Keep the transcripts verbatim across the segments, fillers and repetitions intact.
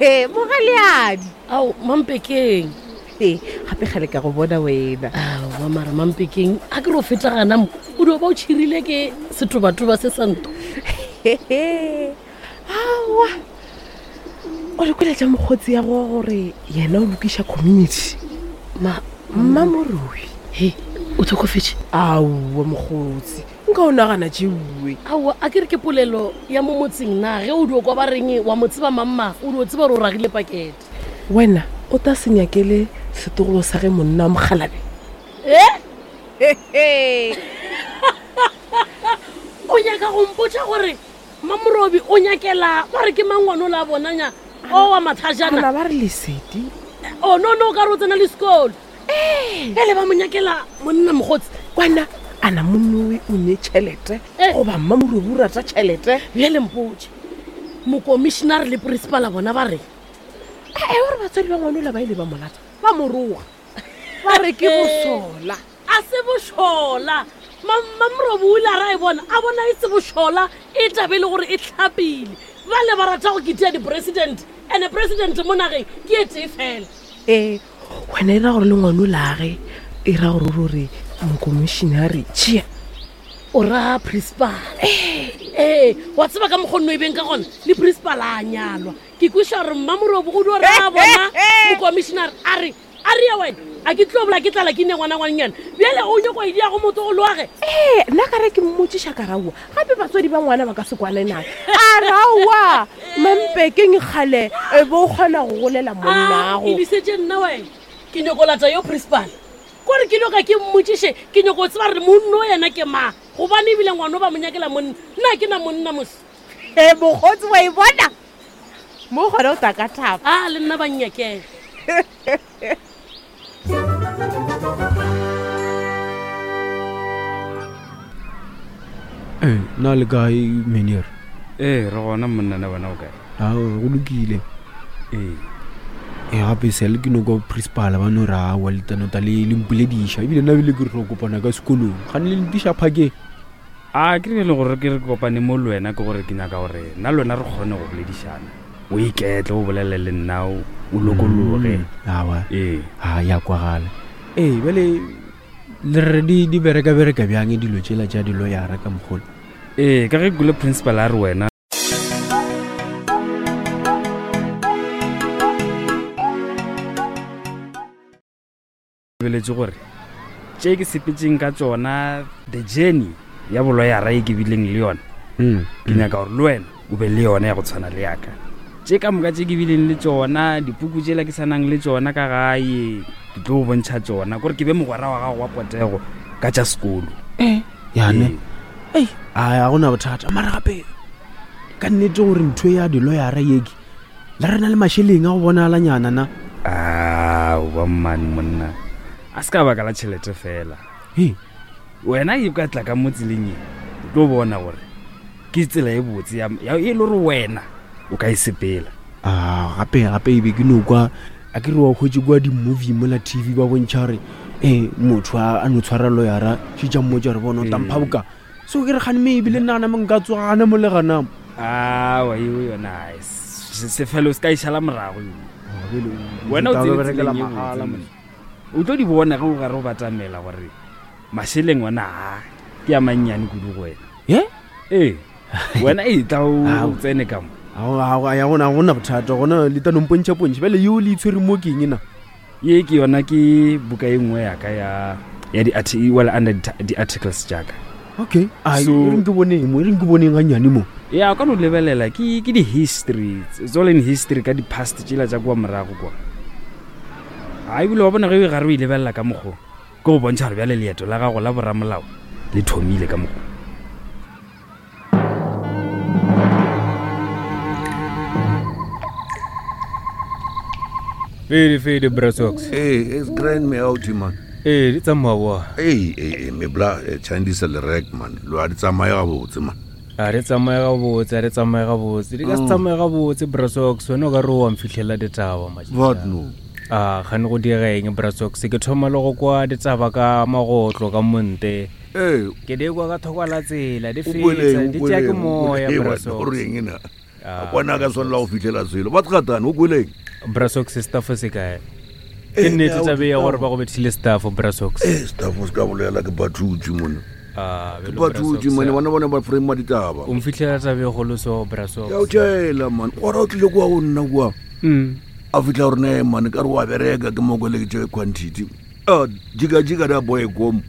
Mogaleadi. Ao, Mampekeng. Ee, gape gale ka go bona wena. Aowa mara Mampekeng, a ke re o feta gana mo, o dio ba o tšhirile ke setobatoba se sa nto. Aowa. O le kwele tša mokgotsi ya go gore yena o lokiša community. Ma Mmamorui. He, o tlhokofetše? Aowa mokgotsi, nka o nagana tšeue. Aowa, a ke re ke polelo ya mo motseng na ge o dio kwa ba reng wa mo tseba mamma, o dio tseba gore o ragile pakete. Wena o ta se nyakele setogolo sa ge monna wa mokgalabe? Eh? O nyaka go mpotša gore Mamorobi o nyakela ba re ke mang ngwana o la bonanya o wa mathajana? Ana ba re Lesedi. Oh no no, ka re o tsena le sekolo. Eh. Ele ba mo nyakela monna mokgotsi. Kwana ana monnowe o ne tšhelete Eh. goba Mmamorobi o rata tšhelete? Bjale mpotše, mokomišenare le principala bona ba reng? Ee, gore batswadi ba ngwana ola ba ile ba mo lata, ba mo roga, ba re ke bosola. A se bošola. Mamrobi o ile a ra e bona, a bona e se bošola, e tabe le gore e tlhapile. Ba le ba rata go ketea di-president, and-e president mo nageng ke e tee fela. Ee, wena e ra gore le ngwana ola ge, e ra gore ruri mokomišenare tšea. O ra principal. Ee, wa tseba ka mokgwa nno e beng ka gona, le principal a nyalwa. Ke kweša gore Mmamorobi o dio ra bona mokomišenare a re, a re ya wena, a ke tlo bola ke tlala ke ne ngwana ngwannyana. Bjale o nyako e dia go motlogolo wa ge. Ee, nna ka re ke mmotšiša ka raowa, gape batswadi ba ngwana ba ka se kwane naye. A raowa, Mampekeng kgale e be o kgona go golela monnago. Ah, e lisetše nna wena, ke nyako lata yo principal. Kore ke nyoka ke mmotšiše, ke nyako tseba gore monno yena ke mang, gobane ebile ngwana o ba mo nyakela monna, nna ke na monna mos. Ee, mokgotsi wa e bona? Mo gona o tla ka thaba. Ah, le nna ba nnyakela. Ee, na le kae Meneer? Ee, re gona monna, na wena o kae? Ao, go lokile. Ee. Ee, gape sele ke no kwa principal ba no re aowa le tanota le le mpolediša, ebile nna ebile ke re tlo kopana ka sekolong. Gane le ntiša phakeng. A ke re le gore ke re kopane mo le wena ke gore ke nyaka gore nna le wena re kgone go boledišana. O iketle, o bolele le nna, o, o lokologe. Mm, aowa. Ee. A ya kwagala. Ee, bjale le re di, di bereka-bereka bjang dilo tšela tša diloyara ka mogolo? Ee, ka ge kule principal a re wena lebeletše gore tše ke sepetseng ka tšona, the journey ya boloyara e ke bileng le yona, Mm, ke nyaka gore le wena o be le yona ya go tshwana le yaka. Tše ka moka tše ke bileng le tšona, dipuku tšela ke sa nang le tšona ka gae, ke tlo go bontšha tšona, kore ke be mogwera wa gago wa potego ka tša sekolo. Eh, yane. Ee. Ei, a ga gona bothata. Mara gape ka nnete gore ntho ya diloyara ye ke le re na le mašeleng a go bonalanyana na? Aowa mmane monna, a se ka baka la tšhelete fela. He. Wena e ka tla ka mo tseleng e, o tlo bona gore ke tsela e botse ya, ya e le gore wena o ka e sepela. Ah, gape gape e be ke no kwa, a ke re wa hwetše kwa di-movie mola T V ba bontšha gore, ee, motho a, a no tshwara loyara, šetša mmotša gore bona o tampha Ee. boka. So ke re gane me ebile nna gana mo nka tsoga gana mo le gana mo. Aowa, eo yona, ai, se-, sefelo se ka e šala morago eo. Oh, Wena o tla tsene berekela tseleng e mahala botse, mos. O tlo di bona ge o gare o batamela gore mašeleng ona a ke a mannyane kudu go wena. Ye? Ee. Wena e tla o Ao. tsene ka mo. Ao, ao, a ya gona, ga gona bothata, gona le tla no mpontšha pontšha. Bjale yeo le itshwere mo ke eng na? Ye ke yona ke buka e nngwe ya ka ya, ya di-arti-, well, under di-, di-articles tša ka. Okay. Ai, So e reng ke boneng mo, e reng ke boneng gannyane mo. Ya, o ka no lebelela, ke, ke di-history, it's all in history ka di-past tšela tša kua morago kwa. A ebile wa bona ge o e gare o e lebelela ka mokgo, ke go bontšha gore bjale leeto la gago la boramolao le thomile ka mokgo. Fede, fede, Brasox. Hey, it's grind me out, man. Ee, di tsamaya boa. Hey, hey, hey, me bla, eh, Chinese le rek, man. Lo a di tsamaya gabotse, man. A re tsamaye gabotse, a re tsamaye gabotse. Di ka se Mm. tsamaye gabotse, Brasox. Wena o ka re wa mfihlela ditaba, matšatši What a. no? A, gane go diega eng, Brasox? Ke thoma le go kwa ditaba ka magotlo, ka monte. Ee. Ke di kwa ka thoko la tsela, di O kweleng, fetsa, o di tšea ke kweleng, o moya, kweleng, Brasox. o reng na? A kwana ka swanela go fitlhela selo. Ba tgatane o kweleng? Brasox staff se kae? Ke nnete tabe ya gore ba go bethile staff Brasox. Eh, staff se ka bolela ke bathutsi mone. Ah, Ke bathutsi mone bona bona ba frame ditaba. O mfitlhela tabe e golo so Brasox. Ya o tšhela man. Ora o tlile kwa go nna kwa. Mm. A fitlha gore ne man ka re wa bereka ke mo kwele ke tše quantity. Ah, jika jika da boy kom.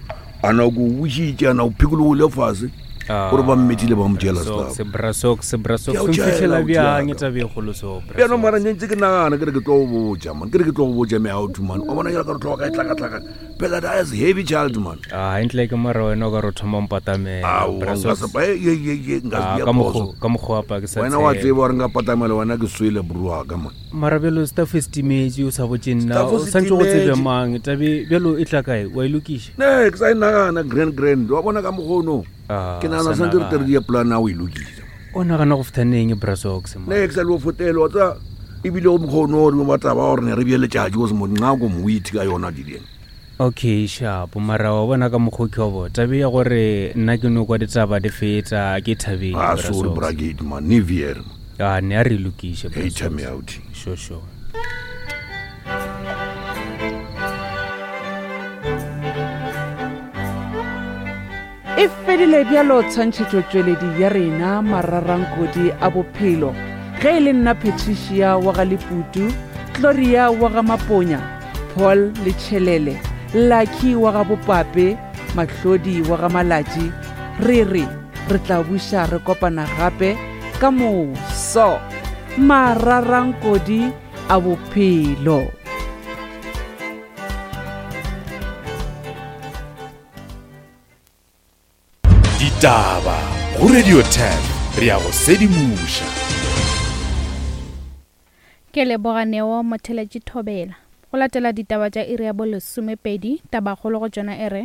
Ana go bušitše ana o phikologile fase. Gore ba mmethile ba mo tšela staff. Brasox Brasox Ke a o o mfitlhela tšhela, bjang o tšhela. tabe e golo so Brasox. Bjano mara ntse ke nagana ke re ke tlo go botša man. Ke re ke tlo go botša me out man. O bona ke re tlo ka e tlhakatlhakana. Phela that is heavy child man. Ah, ntle ke mara wena o ka re o thoma mpatamela. Ao, nka Brasox. se pa- ye, ye, ye, nka se Ah, dia ka phoso. mokgo ka mokgo apa ke sa Wena wa tshepe. tseba gore nka patamela wena ke swele bro wa ka man. Mara bjalo staff e setimetse o sa botse nna Staff o se santse go tsebe timetše. mang tabe bjalo e tla kae wa e lokiša Ne, ke sa e nagana grand grand. Wa bona ka mokgono. Ah, Ke nagana o sa santse re tere nagana. di plan ya go e lokisa. O nagana go feta neng Brasox man? Ne ke sa le o fotelo wa tsa ebile o mokgono o re ba taba gore ne re bje letšatši go se mo nqako moithi ka yona dileng. Okay, sharp mara wa bona ka mokgo ke wa bo tabe ya gore nna ke no kwa ditaba di feta ke thabile Ah, sorry Brasox. brigade man, nevier. Ah, ne a re lokiše Hey, Brasox. tell me out. Sure, sure. E fedile bjalo tshwantšhetšotšweledi ya rena mararankodi a bophelo ge e le nna Patricia wa ga Leputu, Gloria wa ga Maponya, Paul Letšhelele, Lucky wa ga Bopape, Mahlodi wa ga Malatši, re re re tla buša re kopana gape ka moso. Mararankodi a bophelo. Ditaba go Radio ten re ya go sedimoša. Ke leboga Neo Motheletši Thobela. Go latela ditaba tša iri ya bolesomepedi, tabakgolo go tšona e re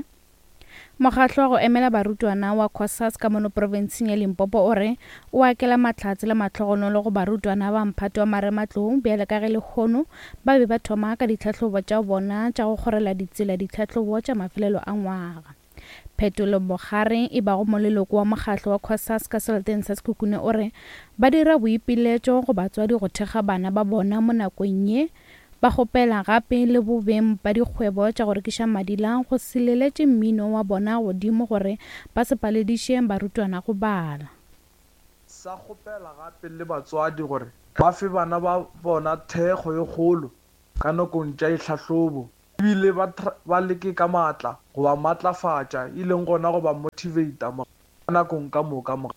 mokgatlo wa go emela barutwana wa COSAS ka mono profenseng ya Limpopo o re o akela mahlatse le mahlogonolo go barutwana ba mphato wa marematlou bjale ka ge lehono ba be ba thoma ka ditlhahlobo tša bona tša go kgorela ditsela ditlhahlobo tša mafelelo a ngwaga. Phetolo Mogare e bago moleloko wa mokgatlo wa COSAS ka seleteng sa Sekhukhune o re ba dira boipiletšo go batswadi go thekga bana ba bona mo nakong ye ba kgopela gape le bobeng ba dikgwebo tša go rekiša madila go se leletše mmino wa bona godimo gore ba se palediše barutwana go bala. Sa kgopela gape le batswadi gore ba fe bana ba bona thekgo ye kgolo ka nakong tša ditlhahlobo ebile ba tra- ba leke ka maatla go ba maatlafatša e leng gona go ba motivata mo nakong ka moka mo.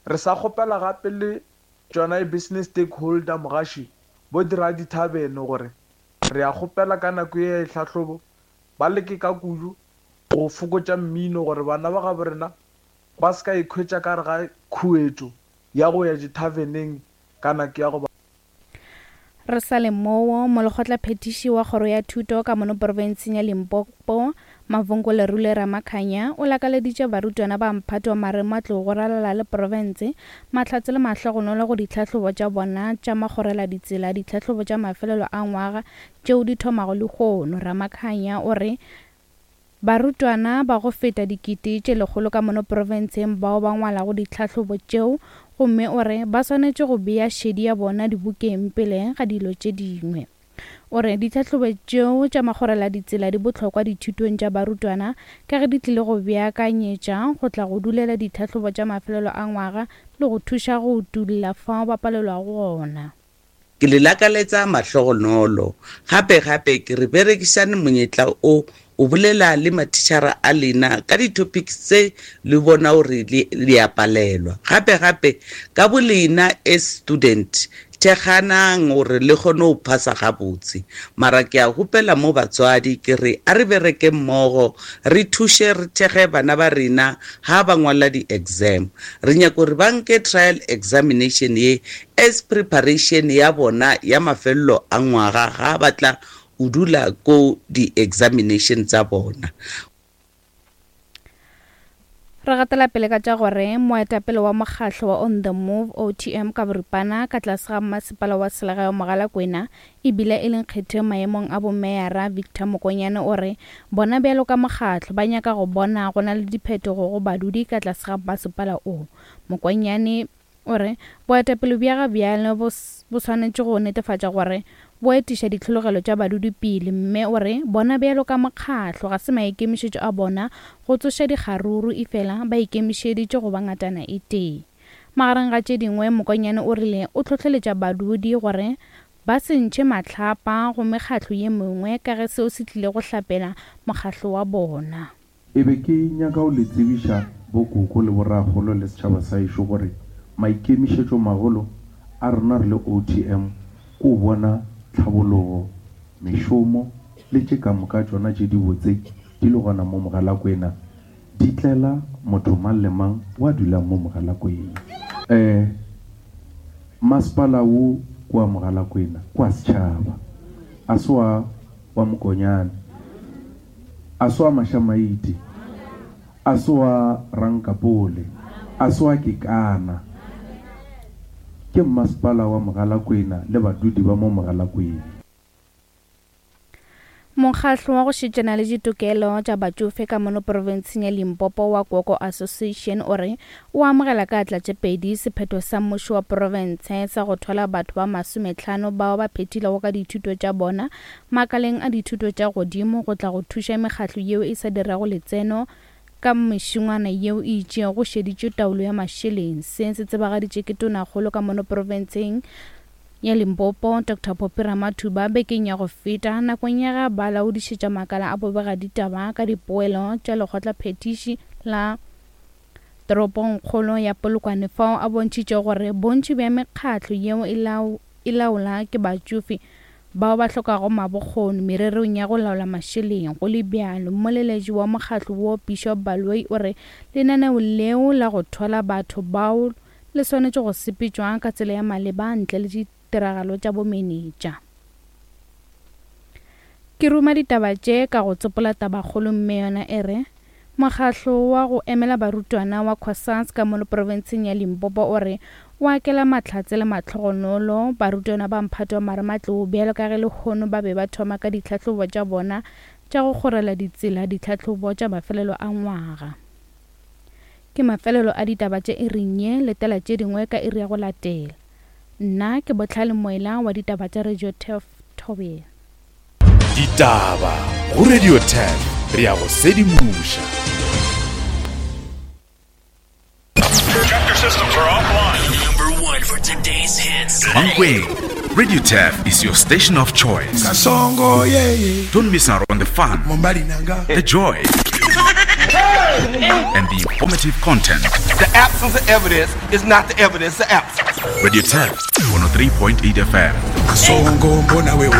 Re sa kgopela gape le tšona business stakeholder mogaši bo dira dithabene gore re a kgopela ka nako ye ya ditlhahlobo ba leke ka kudu go fokotša mmino gore bana ba gabo rena ba se ka ikhwetša ka gare ga khuetšo ya go ya dithaveneng ka nako ya go ba. Re sa le moo, molekgotlaphethiši wa kgoro ya thuto ka mono profenseng ya Limpopo, Mavhungo Lerule Ramakhanya, o lakaleditše barutwana ba mphato wa marematlou go ralala le profense mahlatse le mahlogonolo go ditlhahlobo tša bona tša makgorela ditsela ditlhahlobo tša mafelelo a ngwaga tšeo di thomago lehono. Ramakhanya o re barutwana ba go feta dikete tše lekgolo ka mono profenseng bao ba ngwalago ditlhahlobo tšeo gomme o re ba swanetše go bea šedi ya bona dibukeng pele ga dilo tše dingwe. O re ditlhahlobo tšeo tša makgorela ditsela di bohlokwa dithutong tša barutwana ka ge di tlile go beakanyetša go tla go dulela ditlhahlobo tša mafelelo a ngwaga le go thuša go utulla fao ba palelwago gona. Ke le lakaletsa mahlogonolo gape gape ke re berekišane monyetla o o bolela le mathišara a lena ka di-topics tse le bona gore le le a palelwa. Gape gape ka bo lena as student thekganang gore le kgone go phasa gabotse. Mara ke a gopela mo batswadi ke re a re bereke mmogo re thuše re thekge bana ba rena ha ba ngwala di-exam. Re nyaka gore ba nke trial examination ye as preparation ya bona ya mafelelo a ngwaga ga ba tla o dula ko di-examination tsa bona. Re gatela pele ka tša gore moetapele wa mokgatlo wa On The Move O T M ka boripana ka tlase ga masepala wa selegae wa Mogalakwena ebile e leng kgetho maemong a bomeyara Victor Mokonyane o re bona bjalo ka mokgatlo ba nyaka go bona go na le diphetogo go badudi ka tlase ga masepala o. Mokonyane O re boetapele bja ga bjale bo swanetše go netefatša gore bo etiša ditlhologelo tša badudi pele, mme o re bona bjalo ka mokgatlo ga se maikemišetšo a bona go tsoša dikgaruru, efela ba ikemišeditše go ba ngatana e tee. Magareng ga tše dingwe, Mokonyane o rile o hlohleletša badudi gore ba se ntšhe mahlapa go mekgatlo ye mengwe ka ge seo se tlile go hlapela mokgatlo wa bona. E be ke nyaka go le tsebiša bokoko le borakgolo le setšhaba sa ešo gore maikemišetšo magolo a rena re le O T M ko bona tlhabologo, mešomo le tše ka moka tšona tše dibotse di le gona mo Mogalakwena, di tlela motho mang le mang wa dulang mo Mogalakwena. Eh, masepala wo kwa Mogalakwena kwa setšhaba, a se wa wa Mokonyane, a se wa Mašamaite, a se wa Rankapole, a se wa Kekana, ke masepala wa Mogalakwena le badudi ba mo Mogalakwena. Mokgatlo wa go šetšana le ditokelo tša batšofe ka mono profenseng ya Limpopo wa Koko Association o re o amogela ka atla tše pedi sephetho sa mmušo wa profense sa go thwala batho ba masometlhano bao ba phethilego ka dithuto tša bona makaleng a dithuto tša godimo go tla go thuša mekgatlo yeo e sa dirago letseno ka mešongwana yeo e itšego go šeditšwe taolo ya mašeleng. Se se tsebagaditše ke tonakgolo ka mono profenseng ya Limpopo Doctor Phophi Ramathuba bekeng ya go feta nakong ya ga ba laodišetša makala a bobegaditaba ka dipoelo tša lekgotlaphethiši la toropongkgolo ya Polokwane, fao a bontšhitše gore bontši bja mekgatlo yeo e laola ke batšofe bao ba hlokago mabokgoni mererong ya go laola mašeleng. Go le bjalo, mmoleletši wa mokgatlo wo Bishop Baloyi o re lenaneo leo la go thwala batho bao le swanetše go sepetšwa ka tsela ya maleba ntle le ditiragalo tša bomenetša. Ke ruma ditaba tše ka go tsopola tabakgolo, mme yona e re mokgatlo wa go emela barutwana wa COSAS ka mono profenseng ya Limpopo o re o akela mahlatse le mahlogonolo barutwana ba mphato wa marematlou bjalo ka ge lehono ba be ba thoma ka ditlhahlobo tša bona tša go kgorela ditsela ditlhahlobo tša mafelelo a ngwaga. Ke mafelelo a ditaba tše iring ye, letela tše dingwe ka iri ya go latela. Nna ke Botlhale Moela wa ditaba tša Radio Turf Thobela. Ditaba go Radio Turf, re ya go sedimoša. Chapter systems are offline. Number one for today's hits. Mankweng, Radio Turf is your station of choice. Kasongo, yeah, yeah. Don't miss out on the fun, the joy, and the informative content. The absence of evidence is not the evidence of absence. Radio Turf, one oh three point eight F M. Kasongo, mbona wewe.